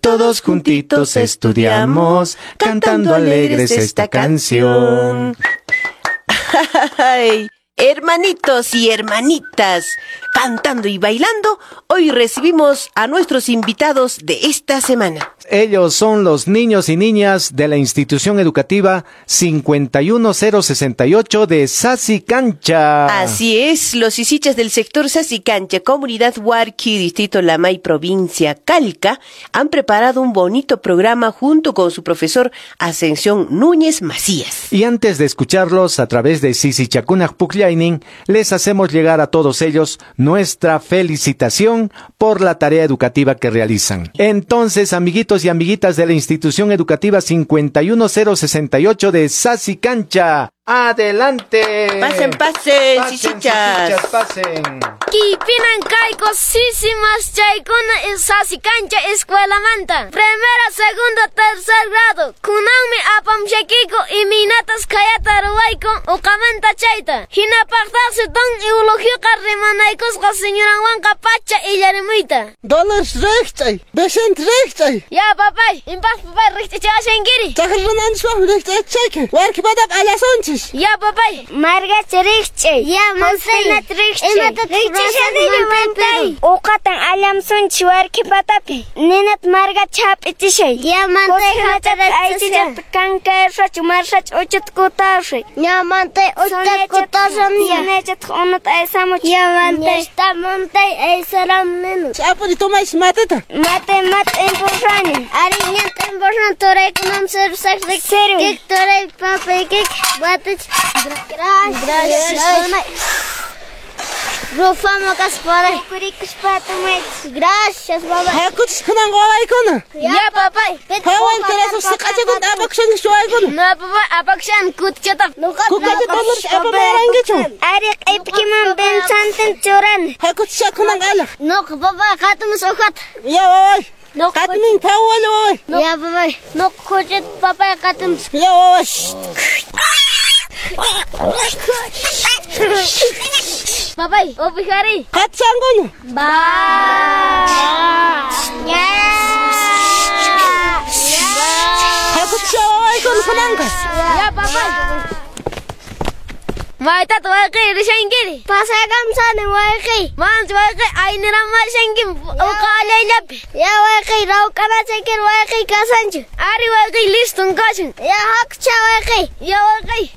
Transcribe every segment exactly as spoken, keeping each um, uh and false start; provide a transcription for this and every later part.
Todos juntitos estudiamos, cantando alegres esta canción. Ay, hermanitos y hermanitas, cantando y bailando, hoy recibimos a nuestros invitados de esta semana. Ellos son los niños y niñas de la institución educativa cincuenta y uno cero sesenta y ocho de Sasicancha. Así es, los sisichas del sector Sasicancha, comunidad Huarqui, distrito Lamay, provincia Calca, han preparado un bonito programa junto con su profesor Ascensión Núñez Macías. Y antes de escucharlos a través de Sisichakunaj Pukllainin, les hacemos llegar a todos ellos nuestra felicitación por la tarea educativa que realizan. Entonces, amiguitos y amiguitas de la institución educativa cincuenta y uno cero sesenta y ocho de Sasicancha, ¡adelante! Pasen, pasen, pasen, sisichas. Sisichas, pasen. Kipinan kayko sisimas chaykuna Sasicancha escuelamanta. Primera, segunda, tercer grado. Kunanmi apamshakiko imaynatas kayata ruwayko uqamanta chayta. Hinapaqtaqsi don Eulogioqa rimanaykusqa señoranwanqa pacha illarimuyta. Dolores riqch'ay, Vicente riqch'ay. Ya papay, impaq papay riqch'achashankiri. Chaqrunanchis riqch'achayki. Warkipataq allasunchis. Ya papay. Margacha riqch'ay. Ya mantay. Imata riqch'ashani mantay. Uqatan allamsunchis warkipatapi. Ninat margacha hap'ichishay. Ya mantay aychichata kankayarsachu marsachu uchuta kutashay. Ya mantay uchuta kutashan. Yanachataq unuta aysamuch. Ya mantay. Esta mantay aysaramninu. Ch'apuri tomaychis matita. Mate mate impulsani. Ari ñanta impulsan turaykunam sirvisaq. Sirvi. Kik turay papay kik batich. Gracias. Rufama kaspara. Gracias, baba. Hakuchis kunan wawaykuna. Ya, papay. Hawan terasu siqachakun apakushanki shuwaykuna. No, papay, apakushan kutchata. Kukachata Dolores apamarankichu. Ari q'ipkiman bensantin churani. Hakuchis kunan alaq. Noq, papay, qatimus uqata. Ya, waway. Qatimin phawal waway. Ya, papay. Noq, kuchit papay qatimus. Ya, waway. Papay, opijari. Qatsankuna. Ba. Ya. Hakuchis wawaykuna kunanqa. Ya, papay. Maytat wayqi rishankiri. Pasakamsani wayqi. Manch wayqi aynirammashanki uqa allayllapi. Ya wayqi rawk'anachaykiri wayqi kasanchu. Ari wayqi liston kashan. Ya hakucha wayqi. Ya wayqi.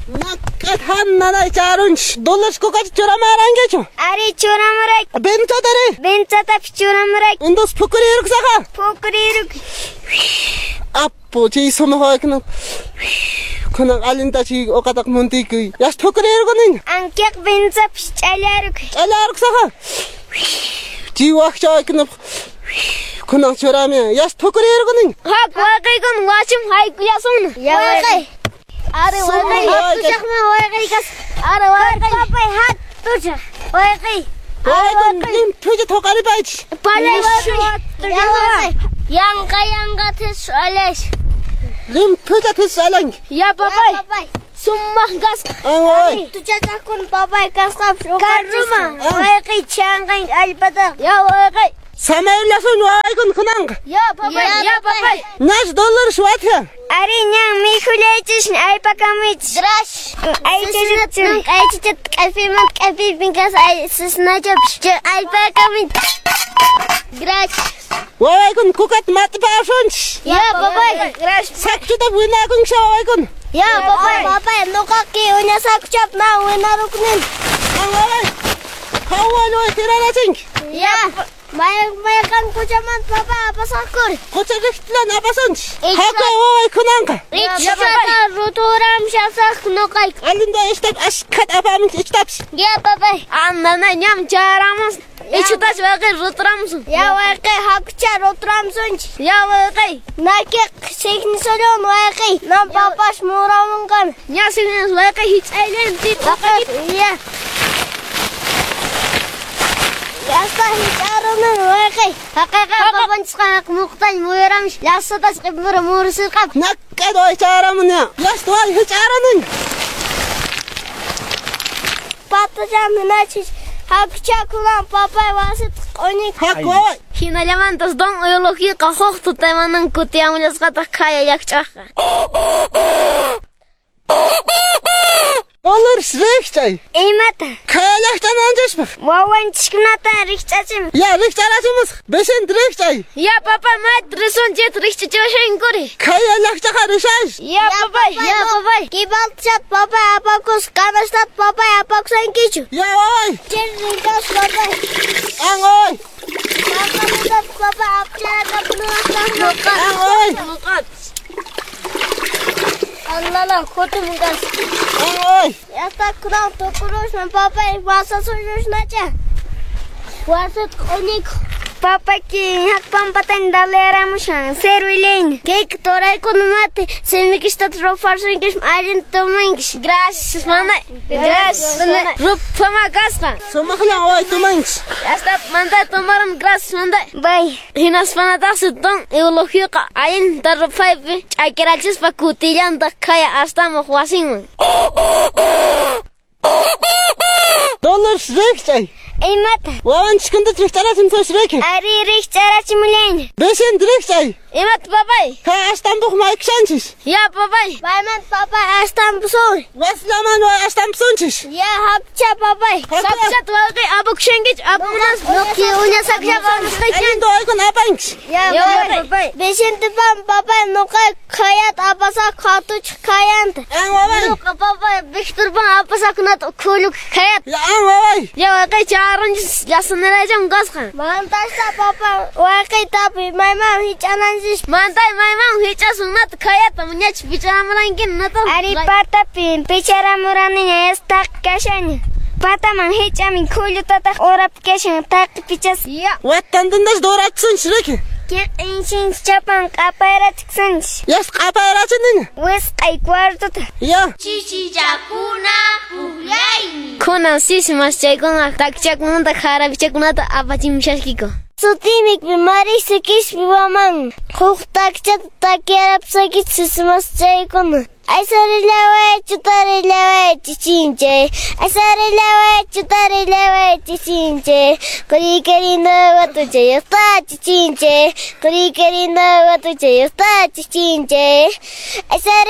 Nakkat hannanay charunchis. Dolores kukacha churamarankichu. Ari churamuray. Bentatari. Bentatapis churamuray. Entonces pukuriruksaqa. Pukuriruk. Apu chay sumaq waykuna. Kunan allintachi uqataq muntikuy. Yas pukurirukuniñ. Ankiq benzapis ch'allaruk. Ch'allaruksaqa. Chay wakcha waykunapaq kunan churamiyan. Yas pukurirukuniñ. Hak wayqiykuna wasim haykullasunna. Ya wayqi. Ari wayqi. Hatushaqman wayqi kas. Ari wayqi. Papay hatushaq. Wayqi. Wawaykuna limpucha thuqaripaychis. Palay wayqi. Yanqa yanqa tis alash. Limpucha tis alanki. Ya papay. Sumaq kasqa. Waway. Tuchachaqkuna papay kasqapis. Karruma. Wayqi chanqan allpataqa. Ya wayqi. Samayllasun wawaykuna kunanqa. Ya papay. Ya papay. Nash Dolores watya. Ari ñan mikhullaychis aypakamuychis. Gracias. Aychichat aychichat k'apiman k'apipin kas sisnachapis. Aypakamuy. Gracias. Wawaykuna kukata mat'ipasunchis. Ya papay. Gracias. Sakchuta winakunkicha wawaykuna. Ya papay. Papay nuqaki uñasakuchap na winaruknin. Waway. Hawal way tirarachinki. Ya. May mayqan quchaman papay apasaqkuri. Qucha riqtlan apasunchis. Haku waway kunanqa. Ichata ruturam shasaq nuqayku. Allinta ishtap ashkhat apamunki ichtapis. Ya papay. Andana ñam charamus. Ichutash wayqi ruturamusun. Ya wayqi hakucha ruturamusunchis. Ya wayqi. Nakiq signisolon wayqi. Nam papash muramunqan. Ña signis wayqi hich'aylan Ya. Yasta hich'arunan wayqi. Haqiqa papanchisqa muqtañ muyuramish. Llasatas q'ipmura murusirqap. Nakkat way charamun ya. Yasta way hich'arunan. Patacham hinachis. Hakucha kunan papay wasita q'uñik. Haku waway. Hinallamantas don Eulogioqa huk tutaymanan kutiyamullasqataq khaya llaqch'aqqa. Dolores rikchay. Imata? Khaya llaqch'ananchispaq. Wawanchiskunata rikch'achimus. Ya rikch'arachimusaq. Vicente rikchay. Ya papá, mayta risunchis rikch'achiwashankuri. Khaya llaqch'aqa rishash. Ya papá, ya papá. Kibalchat papá apakus, kanastat papá apakusankichu. Ya waway. Chirrinkas papá. An waway. Papamutat papá apcharakapunuasaq. An waway. Allala kutumunkas. An waway. Yasta kunan tukurusman papay wasasushnacha. Wasat q'uñiku. Papaki hakpampatan daleramushan servilin. Kayka toraykunamati simikishtat ruparsunkish allin tumankish. Gracias, mamá. Gracias. Rupama kasqa. Sumaqllan waway tumankish. Hasta manda tomaron gracias manda. Bye. Hinaspanataqsi don Eulogioqa allinta rupaypi ch'akirachispa kutillantaq khaya astamuq wasinman. Dolores rikchay. Imata? Wawanchiskunata rikch'arachimusaq riki. Ari rikch'arachimullaña. Vicente rikchay. Imata papay? Kay astampuq maykushanchis. Ya papay. Payman papay astampusun. Wasillaman way astampusunchis. Ya hapcha papay. Sapchat wawqi apukushankichu apunas. Nuqi uñasaqlla pamusqayki. Allinta waykuna apankish. Ya papay. Vicente pan papay nuqa khayat apasaq qhatuchaq khayanta. An waway. Nuqa papay Victor pan apasaqkunata khuluk khayat. Ya an waway. Ya wawqi charunchis llasaniraycham kasqa. Mantasta papay wawqi tapuy mayman hich'ananchis. Mantay mayman hich'asun nata khayata muñachi picharamurankin nata. Ari patapi picharamuraniña yastaq kashaña. Pataman hich'amin khullutataq urapi kashan taqi pichas. Ya. Watantintas dorachisunchis riki. Kiq'inchinchis chapan q'apayrachiksunchis. Yas q'apayrachiniña. Wisq'ay cuartuta. Ya. Chichichakuna pukllaymi. Kunan sisi maschaykuna takichakunata harapichakunata apachimushashkiko. Sutimi marisi kishpi waman. Huk takichata takiyarapsaykichis sisimaschaykuna. Aysarilaway chutarilaway chichinche. Aysarilaway chutarilaway chichinche. Qurikarina watucha yasta chichinche. Qurikarina watucha yasta chichinche. Aysari